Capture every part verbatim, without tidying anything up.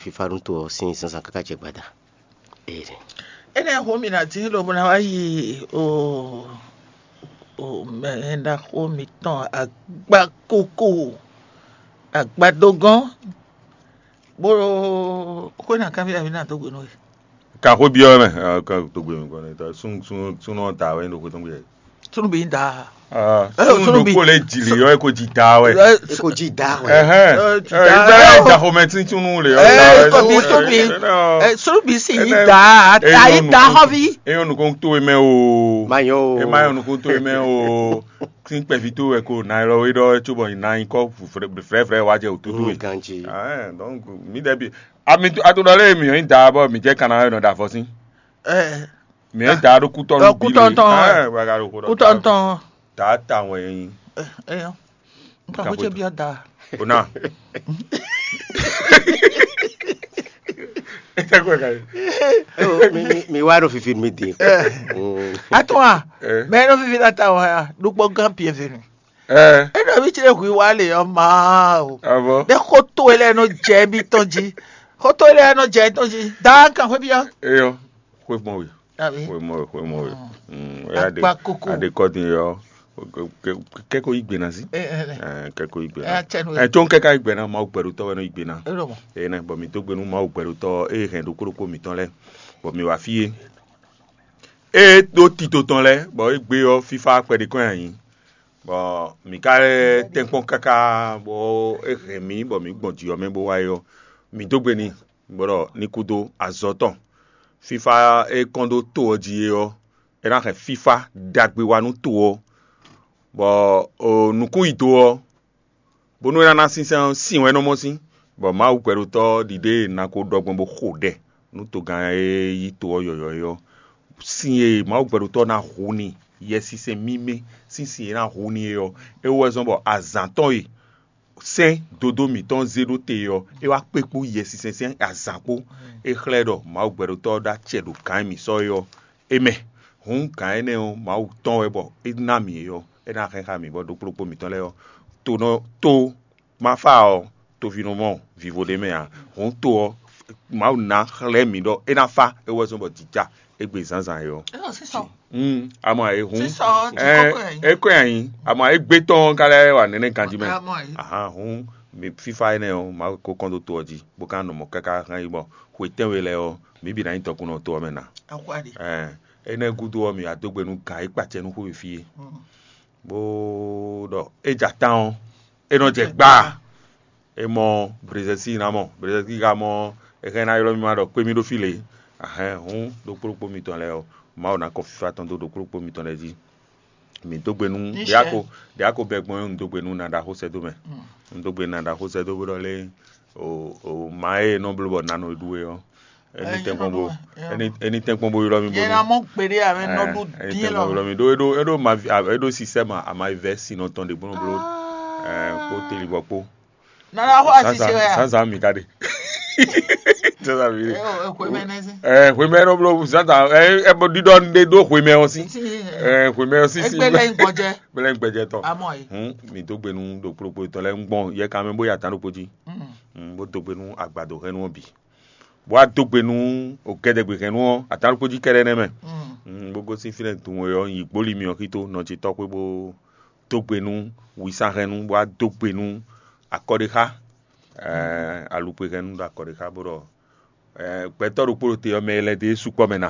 fífá nú to ɔ́ sín zǎnzǎn káká jɛ gbada. Ee. Énɛ́ ɔ́ hú mì ná dín lobo ná wá yi o o mɛ ɖaxó mǐtɔn agbakoko agbadogɔ́n bó xwé ná kanbyɔ́ mǐ ná dó gbe nú we. Ka xwé byɔ́ mɛ, ka dó gbe mɛ kɔn, súnnu da wɛ ɖo xwé tɔn gbe. Súnnu bǐ da. Súnnu ɖokpó lě jǐ lě ɔ́, é ko jí da wɛ. É ko jí da wɛ. Ɛhɛn. Ɛ, jí da wɛ. Ìgbà yẹn da xomɛ tí súnnu lè ɔ́ da wɛ. Súnnu bǐ, súnnu bǐ sì yí da, ayí da xɔví. Eyɔn nukún tó e mɛ o. Má yọ o. E má yọ nukún tó e mɛ o. Tí kpɛví tó wɛ ko na ɛ lɔ é ɖɔ é cóbɔ nyi na nyí kɔ frɛfrɛ wá jɛ wǔtútú we. Ganji. Donc mi dɛ bi ami ato ɖɔ lé mi yɔn da bɔ mi jɛ kana yɔ nɔ da fɔ sín. Ɛ. Mi yɔn da ɖo kútɔ Ɔ, nù bí lé. Kútɔntɔn. Ɛ wà gà ɖo kó ɖɔ Kútɔntɔn. Da ta wɛ yín. Ɛ ɛ yɔ. Nka Ka ko ce xwé byɔ da. O na. Ẹ tẹ́ kó ẹ ka yìí. Ó, mi mi mi wá ɖo fifi mi din. Mm. Atɔn a. Ɛ. Mɛ ɖo fifi la ta wɔ ya ɖukpɔ gán bienvenue. Ɛ. E ɖɔ mi tse hu wa le ɔ ma o. Avɔ. Ne xo to e lɛ nɔ jɛ mi tɔn ji. Xo to e lɛ nɔ jɛ tɔn ji. Da kan xwe bi ɔ. Eyɔ. Xwe mɔ we. Abi. Xwe mɔ we, xwe mɔ we. Mm. Mm, ya de. Akpa koko. Ade kɔ din yɔ. Kɛko yi gbena si. Ɛ ɛ ɛ. Ɛ, kɛko yi gbena. Ɛ, tsɛ nu. Ɛ, tso kɛka yi gbena, Mawu gbɛɖotɔ wɛ nɔ yi gbena. E ɖo mɔ. Eye nɛ, bɔ mi dó gbe nú Mawu gbɛɖotɔ e hɛn ɖokpó ɖokpó mitɔn lɛ, bɔ mi wá fí e. E ɖó tito tɔn lɛ, bɔ e gbé ɔ́ fífá kpɛɖé kɔn nyi. Bɔ mǐ ka lɛ́ tɛ́nkpɔ́n káká, bɔ é hɛn mǐ, bɔ mǐ gbɔn jǐ ɔ́ mɛ bó wá é ɔ́, mǐ dó gbe n'i, bɔ ɖɔ ní kúdó azɔ̌ tɔn. Fífá e kɔn dó to ɔ́ jí é ɔ́, é ná hɛn fífá ɖagbe wá nú to ɔ́, bɔ nukún yi do ɔ́, bónú é ná ná sínsɛ́n ɔ́, sin wɛ é nɔ mɔ sín, bɔ Mawu gbɛɖotɔ́ ɖiɖe e è nǎ ko ɖɔ gbɔn bó xo ɖɛ nú togán e yí to ɔ́ yɔ̌yɔ́ é ɔ́, sin e Mawu gbɛɖotɔ́ ná hu n'i, Yɛsinsɛn mímɛ́ sín sin e é ná hu n'i é ɔ́, é wú wɛ zɔ́n bɔ azǎn tɔn e sɛ́n dodó mǐtɔn zé ɖó te ɔ́, é wá kpé kpó Yɛsinsɛn sín azǎn kpó. É xlɛ́ ɖɔ Mawu gbɛɖotɔ́ ɔ́ ɖó acɛ ɖo gǎn e mǐ sɔ́ é ɔ́, é mɛ. Hǔn gǎn énɛ́ ɔ́, Mawu tɔn wɛ bɔ é ná mǐ é ɔ́, é ná hɛn xá mǐ, bɔ ɖokpó ɖokpó mǐtɔn lɛ́ɛ ɔ́, to nɔ to ma fa ɔ́, toví nɔ mɔ vivo ɖé mɛ ǎ. Hǔn to ɔ́, Mawu ná xlɛ́ mǐ ɖɔ é ná fa, é wɛ zɔ́n bɔ jǐ ja égbé zǎnzǎn é ɔ́. Ɛ ɔ sísɔ. Mm, amɔ e hun. Sísɔ jí Ɛ, kɔkɔ ɛ. Ekɔɛ anyi. Amɔ egbe tɔn ka lɛ wa nɛnɛ ganji mɛ. Amɔ e. Ahan hun mi fifa enɛ ɔ ma ko kɔn do to ɔ ji bo ka nɔ mɔ kaka hɛn yi bɔ hwe tɛnwe lɛ ɔ mi bi na nyi tɔkun nɔ to ɔ mɛ na. Akwadi. Ɛ enɛ gudo ɔ mi adogbe nu ga e kpatsɛ nu xo fi e. Mm. Bó ɖɔ e ja tan ɔ e nɔ jɛ gba. E mɔ brezɛsi na mɔ brezɛsi ka mɔ e hɛn na ylɔ mi ma ɖɔ kpé mi ɖo fi lě. Ahɛn hun ɖokpó ɖokpó mitɔn lɛ ɔ Mawu ná kɔ fifa tɔn dó ɖokpó ɖokpó mitɔn lɛ jí. Mi dó gbe nú Michel. Ɖiako ɖiako bɛ gbɔn un dó gbe nú na ɖaxó sɛ́ dó mɛ. Un dó gbe nú na ɖaxó sɛ́ dó bó ɖɔ lé o o ma e nɔ bló bɔ nanu e ɖu é ɔ. Eni tɛnkpɔn bo eni eni tɛnkpɔn bo ylɔ mi bo Yẹn na mɔ gbeɖe ame nɔ ɖu eni dín tɛnkpɔn bo lɔ. Ylɔ mi ɖo eɖo eɖo ma eɖo sisɛ ma ama vɛ sinɔ tɔn ɖe gbɔn bló. Ɛ kpó teli bɔ kpó. Nana xɔ asise wɛ a. Zazan mi ka ɖe. Zazan mi ɖe. Ɛ o ekwe mɛ nɛ si. Ɛ hwemɛ ɖo bló zazan ɛ ɛ bɔ ɖiɖɔ ɖe ɖo hwemɛ ɔ si. Si. Ɛ hwemɛ ɔ si si. Egbe lɛ gbɔjɛ. Gbe lɛ gbɛjɛ tɔ. Amɔ yi. Hun mi dó gbe nú ɖokpó ɖokpó tɔ lɛ ń gbɔn yɛ kan mɛ bó ya tán ɖokpó jí. Mm. Mm, bó dó gbe nú agbado hɛn nú ɔ bǐ. Bó wá dó gbe nú ògɛdɛgbehɛnnú ɔ́, atánɖókpó jí kɛ́ɖɛ́ nɛ́ mɛ. Mm. Bó gosín fínɛ́ dun e ɔ́, nyi gbólí myɔ xító nɔ ce tɔ́ xwé bó dó gbe nú wisánhɛnnú, bó wá dó gbe nú akɔɖéxá, alukpehɛnnú ɖo akɔɖéxá bó ɖɔ gbɛtɔ́ ɖokpó ɖo te ɔ́, mɛ e lɛ́ dó é sukpɔ́ mɛ ná.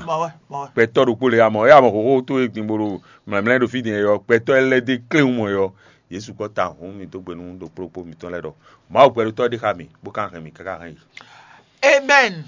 Gbɛtɔ́ ɖokpó lě amɔ é amɔ xóxó tó e gbin bó ɖo mlɛ̌mlɛ́ ɖo fí din é ɔ́, gbɛtɔ́ e lɛ́ dó é kléwún mɔ é ɔ́, yě sukpɔ́ ta hǔn mì dó gbe nú ɖokpó ɖokpó mǐtɔn lɛ́ɛ ɖɔ Mawu gbɛɖótɔ́ ɖé xá mì, bó ka hɛn mì káká hɛn yi. Amen.